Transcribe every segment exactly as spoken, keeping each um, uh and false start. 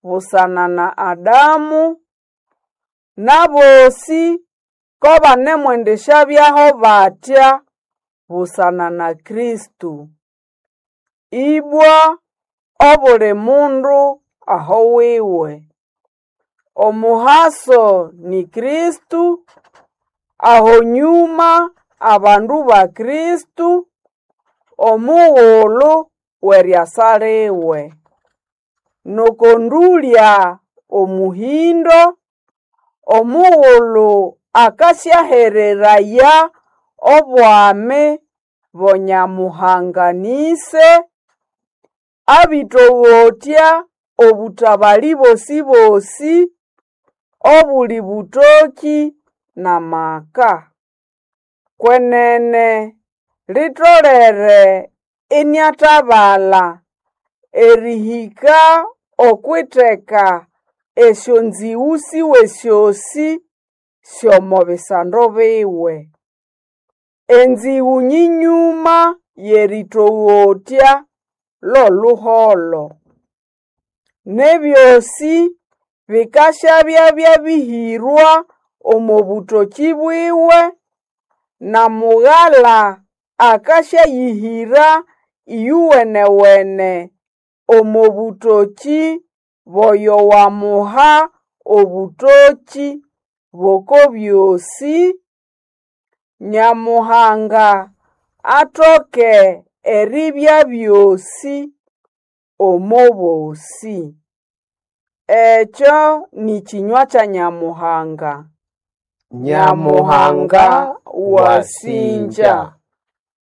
busana na Adamu, n'abosĩ ko banemwendisyabyaho batya busana na Kristo. Ibwa obuli mundu aho wiwe. Omuhaso ni Kristo, aho nyũma abandu ba Kristo, omugulu w'eriasa liwe. N'oko ndũlya omuhĩndo, omugulu akasyahereraya obwami bo Nyamuhanga-nĩse, abĩtogotya obũtabalĩ bosĩ-bosĩ, obuli bũtokĩ n'amaka. Kwenene litolere iniatabala erihĩka okw'itheka esyonzĩgũ siwe syosĩ sy'omo bisando biwe. Enzĩgũ nyĩnyũma y'erĩtogotya lw'oluholo. N'ebyosĩ bikasyabya byabĩhĩrwa omo bũtokĩ bwiwe, na Mugala akasyayĩhĩra ĩyowene-wene omo bũtokĩ bw'oyo wamuha obũtokĩ b'oko byosĩ, Nyamuhanga atoke eribya byosĩ omo bosĩ. Ekyo nĩ kĩnywa kya Nyamuhanga. Nyamuhanga wasinja.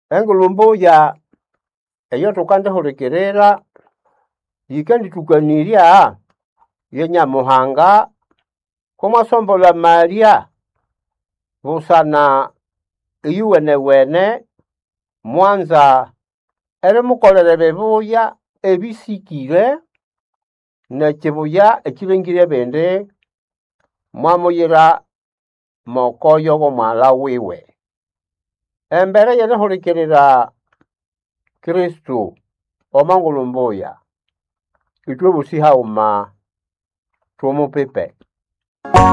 Engulhu mbuya eyo thukandihulikirira yikandithukanirya ye Nyamuhanga kumwasombolha amalya busana iyuwenewene mwanza erimukolera ebibuya ebisikire n'ekibuya ekilengire ebindi mwamuyira mokoyo w'omwaghalha wiwe. Embere y'erihulikirira Kristo omo ngulhu mbuya, ithwe bosi haghuma thumupipe.